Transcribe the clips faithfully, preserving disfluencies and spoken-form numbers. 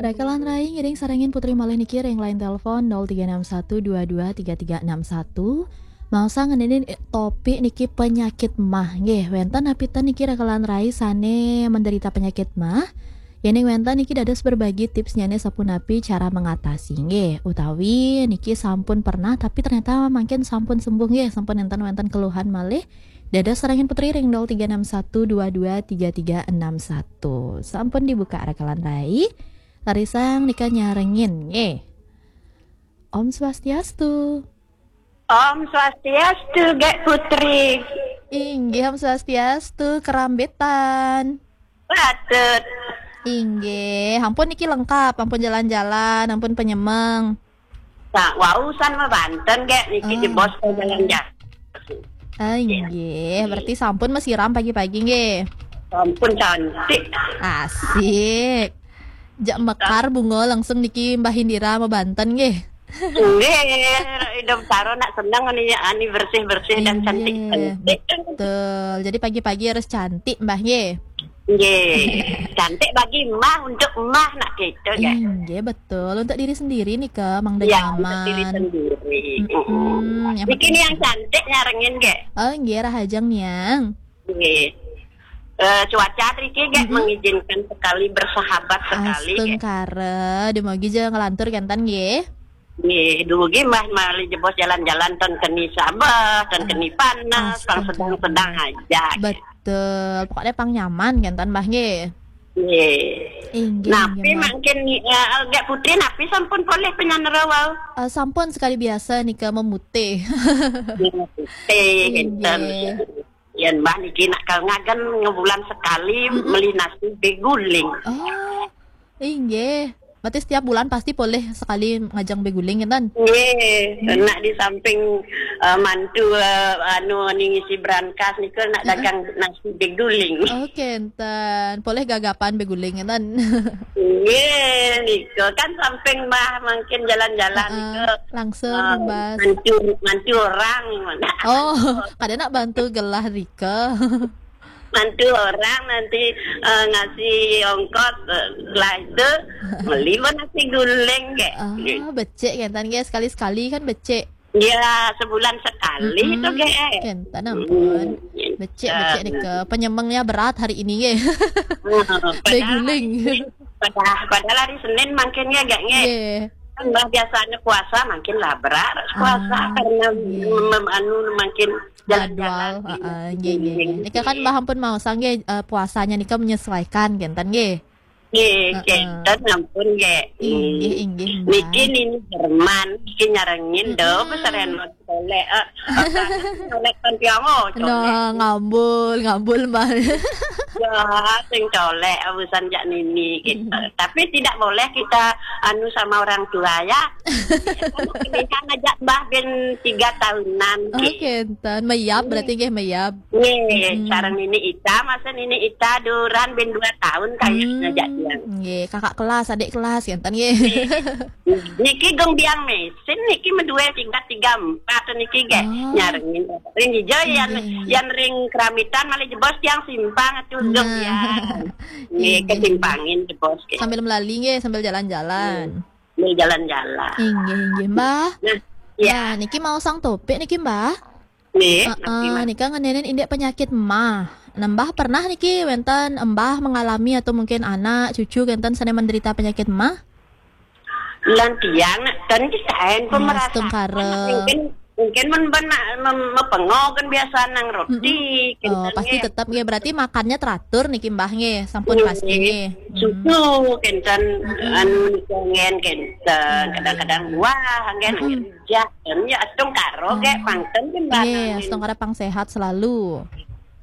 Rakalan rai, ngiring sarengin Putri malih niki ring line telepon nol tiga enam satu dua dua tiga tiga enam satu. Maosang ngenenin, eh, topik niki penyakit mah. Nggih, wenten napi ten niki rakalan rai sane menderita penyakit mah? Yening wenten niki dados berbagi tipsnyane sapunapi cara mengatasi. Nggih, utawi niki sampun pernah tapi ternyata mangkin sampun sembuh nggih, sampun enten wenten keluhan malih. Dados sarengin Putri ring nol tiga enam satu dua dua tiga tiga enam satu. Sampun dibuka rakalan rai. Larisang nika nyarengin nggih. Om Swastiastu. Om Swastiastu, Gek Putri. Inggih, Om Swastiastu, kerambitan. Patut. Inggih, ampun niki lengkap, ampun jalan-jalan, ampun penyemeng. Nah, wau san mabanten, Gek, niki Ah. jebos ke jalan-jalan. Ah, inggih, berarti sampun masiram pagi-pagi nggih. Sampun cantik. Asik. Jak mekar bunga langsung niki Mbah Indira mabanten nggih. Nggih, hidup karo nak seneng ni ani bersih-bersih dan Inggih, cantik-cantik. Betul. Jadi pagi-pagi harus cantik Mbah nggih. Nggih. Cantik bagi emak, untuk emak nak gitu kan. Inggih, betul. Untuk diri sendiri nih ke Mang Ya, untuk diri Denyaman. Sendiri. Mm-mm. Mm-mm, yang Niki penting nih yang cantik nyarengin, Gek. Oh, nggih, rahajeng niang. Nggih. Eh, cuaca riki, Gek, Mm-mm. mengizinkan sekali, bersahabat sekali, Gek. Astungkara, dumugi ja nglantur kenten nggih. Nggih, dugi mah malih jebos jalan-jalan ten keni sabeh, ten Ah, keni panas, pang astungkara. Sedang-sedang aja. Betul. Pokoknya pang nyaman kenten Mbah nggih. Nggih. Inggih, Napi inggih, Mbah. Mangkin, eh, Gek Putri napi sampun polih penyanera wau? Eh, sampun sekali biasa nika memutih. Memutih, Inggih. Kenten. Yen Mbah niki nak kal ngagen ngebulan sekali Mm-mm. meli nasi beguling. Oh, inggih. Berarti setiap bulan pasti polih sekali ngajeng beguling, kenten? Nggih, Hmm. nak di samping, eh, mantu, eh, anu, ni ngisi brankas niku nak Heeh. dagang nasi beguling. Oh, kenten. Polih gagapan beguling, kenten? Nggih, niku kan samping Mbah mangkin jalan-jalan Heeh, niku. Langsung Ah, rumbas. Mantu, mantu orang mana? Oh, kada nak bantu gelah rika. Mantu orang nanti, eh, ngasih ongkos, eh, setelah itu beli pun nasi guling, Gek. Ah, becik kenten, Gek. Sekali-sekali kan becik. Ya, sebulan sekali Mm-mm. itu, Gek. Kenten ampun. Mm. Becik, becik Eh. nika. Penyemengnya berat hari ini, Gek. Ah, padahal Beguling. hari Senin, padahal, padahal hari Senin mangkin ya, Gek, nggih. Nggih. Kan Mbah biasanya puasa, mangkin lah berat puasa Ah, karena nggih. mem-, anu, mangkin Jadwal, jalan-jalan. Heeh, nggih, nggih, nggih. Nika kan Mbah ampun maosang nggih, eh, puasanya nika menyesuaikan kenten nggih. Nggih, Heeh. Kenten ampun nggih. Inggih, Hmm. Inggih, Mbah. Niki nini Jerman, niki nyarengin do, Mm-mm. Pesaren colek, eh, colek kan tiang, oh, colek. Nah, ngambul, ngambul, Mbah. Ya, sing colek, urusan jak nini gitu. Mm-mm. Tapi tidak boleh kita anu sama orang tua ya. Kan pilihan aja Mbah ben tiga tahunan. Oh, nggih. Kenten. Mayap, nggih. Berarti nggih mayap. Nggih, mm-mm. Sareng Nini Ita, masa Nini Ita duran ben dua tahun kayaknya, hmm, jak dia. Nggih, kakak kelas, adik kelas, kenten nggih. Nggih. Niki gong biang mesin, niki medue tiga tiga empat niki nggih. Oh. Nyarengin. Ring hijau, nggih, yan, nggih. Yan ring Keramitan, malih jebos tiang simpang, atuh, nah. Gong biang. Nggih, nggih. Kesimpangin jebos nggih. Sambil melali nggih, sambil jalan-jalan. Nggih. Sambil jalan-jalan. Inggih, inggih, Mbah. Nah, ya. Nah, niki maosang topik niki, Mbah. Nggih, heeh, napi, Mbah? Nika ngenenin indik penyakit mah. Nah, Mbah pernah niki wenten Mbah mengalami atau mungkin anak, cucu kenten sane menderita penyakit mah? Lan tiang nak ten kisaen. Ah, pemerasan. Astungkara. Mungkin, mungkin men ben nak mem-, mepengo kan biasa nang roti, mm-mm, kenten, oh, pasti nggih. Tetap nggih, berarti makannya teratur niki Mbah nggih, sampun pasti nggih. Nggih. Hmm. Susu kenten, mm-mm, anu niki ngen kenten, mm, kadang-kadang buah ngen, mm-mm, rujak, kan ya astungkara nggih, oh, pangten kan Mbah nangin. Nggih, astungkara pang sehat selalu.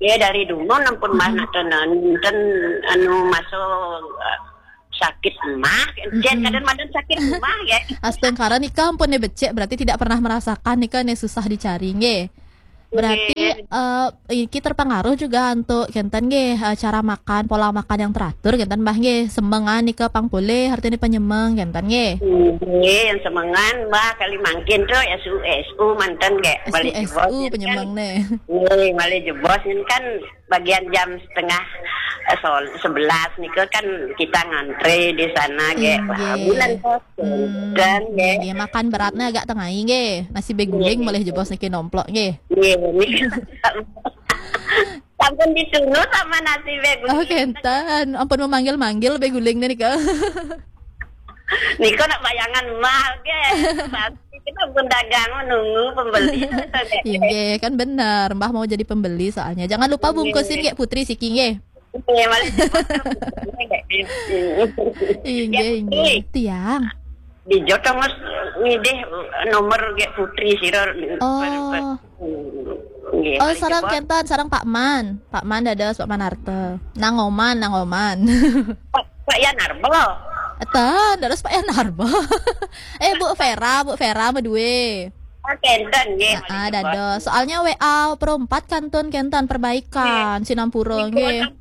Ya dari dulu ampun Mbah, mm-mm, nak ten, ten anu masuk, eh, sakit mah, jen, mm-mm, kadang madan sakit mah ya. Astungkara nika ampun ne becik, berarti tidak pernah merasakan nika ne susah dicari nggih. Berarti, nggih, eh, iki terpengaruh juga antuk kenten nggih, eh, cara makan, pola makan yang teratur kenten Mbah nggih. Semengan nika pang polih artine penyemeng kenten nggih. Nggih, yang semengan Mbah kali mangkin tu S U S U manten nggih. S U S U malih jebos penyemeng kan. Ne. Nggih, malih jebos ini kan bagian jam setengah eh, sol sebelas nika kan kita ngantre di sana ge. Inggih. Bulan puasa. Hmm, dan ge. Inggih, makan beratnya agak tengai ge. Nasi beguling boleh jebos niki nomplok ge. Iya, nika. Sampun disuruh sama nasi beguling. Oh, kenten. Ampun memanggil-manggil beguling nih nika. Nika nak bayangan mah ge. Pasti kita pun dagang menunggu pembeli. Inggih, kan bener. Mbah mau jadi pembeli soalnya. Jangan lupa bungkusin ge Putri siki ge. Iya, malah cepat. Inggih, inggih. Tiang. Di Jotong mas ngidih nomor ge Putri sira. Oh. Nggih, oh, sareng kenten, sareng Pak Man. Pak Man dados, Pak Man Arte. Nang Oman, Nang Oman. Pak, Pak Yan Arbo. Eten, dados Pak Yan Arbo. Eh, Bu Vera, Bu Vera medue. Ah, kenten nggih. Ah, dados. Soalnya W A perempat kantun kenten perbaikan sinampura nggih.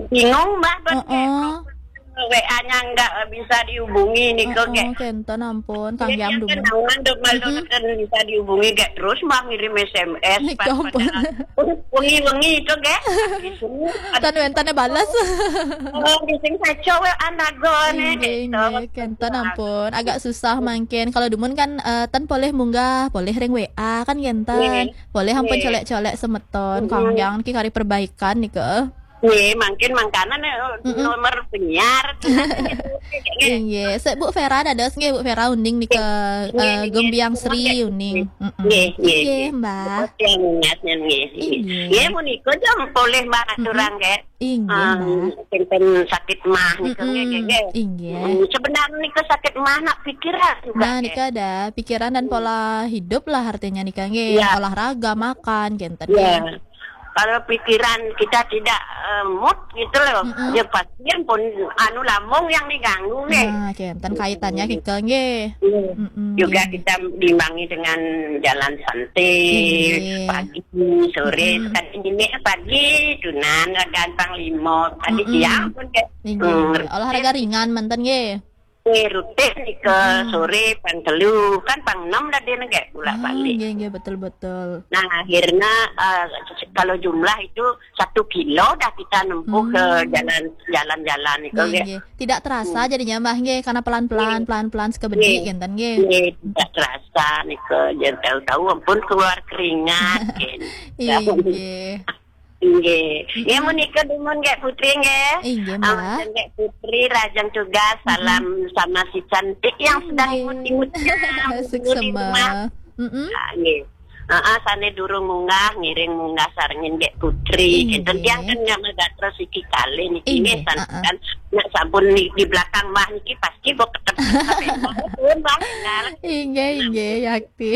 Bingung Mbah, heeh. W A-nya nggak bisa dihubungi nika. Heeh, kenten ampun, Kang Yang dulu. Kan bisa dihubungi ge terus Mbah ngirim S M S. Nika ampun. Wengi-wengi itu ge. Tan wenten bales. Oh, bising saja we anagone. Inggih, inggih, kenten ampun. Agak susah mangkin. Kalau dumun kan, eh, tan polih munggah, polih ring W A kan kenten. Polih ampun colek-colek semeton. Kang Yang niki kari perbaikan nika. Nggih, mangkin mangkanan, eh, nomor penyiar. Inggih, sik Bu Vera dados nggih, Bu Vera uning nika, eh, Gembiang Sri uning. Nggih, nggih, nggih, Mbah. Nggih, nggih. Nggih, menika jam polih Mbah aturang nggih. Inggih, Mbah. Kenten sakit mah nika nggih, nggih. Inggih. Sebenarnya nika sakit mah nak pikiran juga. Nah, nika ada pikiran dan pola hidup lah artinya nika nggih. Olahraga, makan, kenten nggih. Kalau pikiran kita tidak, eh, mood gitu loh, ya pasti pun anu lambung yang diganggu nih. Nah, kenten kaitannya kike nggih. Juga kita diimbangi dengan jalan santai, pagi, sore, sekali ini pagi, tunan, gampang limo, tadi siang pun kayak, olahraga ringan menten nggih. Eh, rutin nih ke sore pang telu, kan pang enam dah dia nggak bolak-balik. Nggih, nggih, betul, betul. Nah, akhirnya, eh, kalau jumlah itu satu kilo dah kita nempuh ke jalan, jalan-jalan itu nggih, nggih. Tidak terasa jadinya Mbah nggih, karena pelan-pelan, pelan-pelan sekebedi kenten nggih. Nggih, tidak terasa nih ke, jadi tahu-tahu ampun keluar keringat. Inggih. Inggih. Ya, menika dumun nggih Putri nggih. Inggih, Mbak. Ampun nggih Putri, rajang tugas, salam sama si cantik yang sedang imut-imut. Asik di rumah. Ah, nggih. Heeh, sane durung munggah, ngiring munggah sarengin nggih Putri. Inggih. Kenten tiang kan nyamel gatra siki kali niki nggih, santukan nak sampun di, di belakang Mbah niki pasti bok ketep. Inggih, inggih, yakti.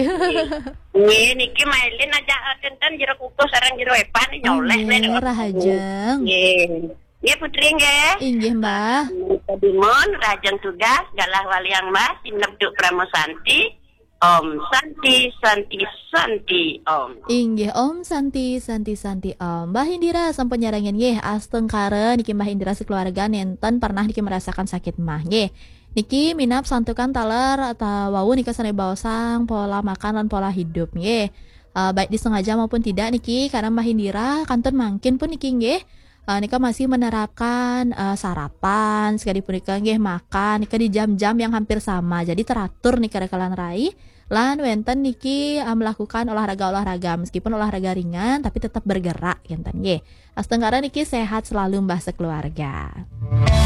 Nggih, niki mailin aja, eh, kenten jero kukuh sareng jero epan nyoleh. Nggih, rahajeng. Nggih. Nggih, Putri nggih. Inggih, Mbah. Dumun, rahajeng tugas, galah waliang Mbah, sinebduk Pramo Santi. Om Santi, Santi, Santi, Om. Inggih, Om Santi, Santi, Santi, Om. Mbah Indira sampun nyarengin nggih, astungkara niki Mbah Indira sekeluarga nenten pernah niki merasakan sakit mah nggih. Niki minab santukan taler atau wau nika sane baosang pola makan lan pola hidup nggih. Eh, baik disengaja maupun tidak niki, karena Mbah Indira kantun mangkin pun niki nggih. Eh, nika masih menerapkan, eh, sarapan, sekali punika nggih makan nika di jam-jam yang hampir sama. Jadi teratur nika rekelan rai. Lan wenten niki, eh, melakukan olahraga-olahraga, meskipun olahraga ringan tapi tetap bergerak kenten nggih. Astungkara niki sehat selalu Mbah sekeluarga.